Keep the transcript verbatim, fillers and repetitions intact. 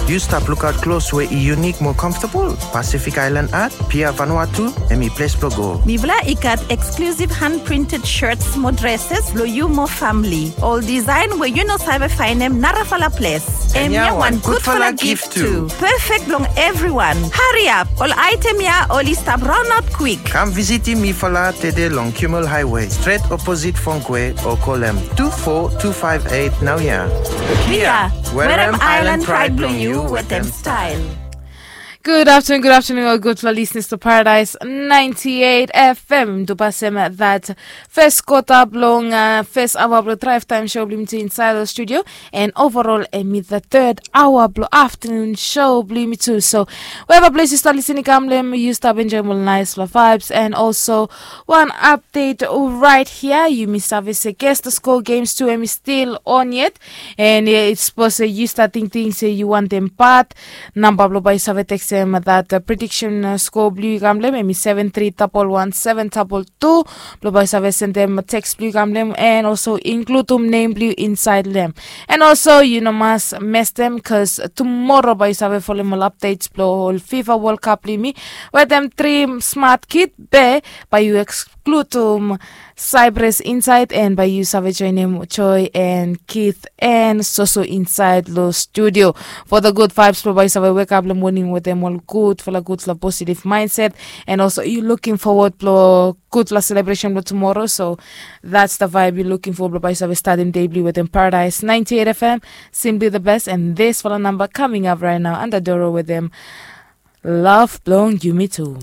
Yu stap lukaot klos we i yunik mo comfortable? Pacific Island Art, Pia Vanuatu, hemi ples blo go. Mifala i gat exclusive hand printed shirts mo dresses blo yu mo famili. Ol design we yu no save faenem narafala ples. Hemia wan gudfala gift tu. Perfect blong everyone. Hariap, ol item ya oli stap raonaot kwik. Kam visitim mifala tede long Kimmel Highway, stret oposit Fongkwe, o kolem tu fo tu faef eit naoia. Kia, werem Island Pride blong yu wetem style. Good afternoon, good afternoon, all good for listeners to Paradise ninety-eight F M. Dupasem that first quarter blong uh, first hour blong drive time show blong mi tu inside the studio, and overall emi the third hour blong afternoon show blong mi tu. So wherever place you start listening, come lem you start enjoy more nice love vibes, and also one update right here. You miss service guest the score games too, emi still on yet, and uh, it's supposed uh, you start thinking say you want them part number blong bai save teksem that uh, prediction uh, score blong yu kam lem emi seven three double one seven double two. Blong bai save sendem text blong yu kam lem and also includum name blong yu inside lem. And also you no mas mestem cause tomorrow bai save folem ol updates blong ol FIFA World Cup blong mi wetem three smart kid be bai you excludum Cyprus inside and bai you save joinim Joy and Keith and Soso inside lo studio for the good vibes blong bai save wake up lo morning wetem ol gudfala gudfala positive mindset. And also you looking forward lo gudfala celebration lo tomorrow, so that's the vibe you looking for blong bai save starting day blong wetem Paradise ninety-eight F M. Simply the best, and this fala number coming up right now under Doro wetem Love blong Yumi too.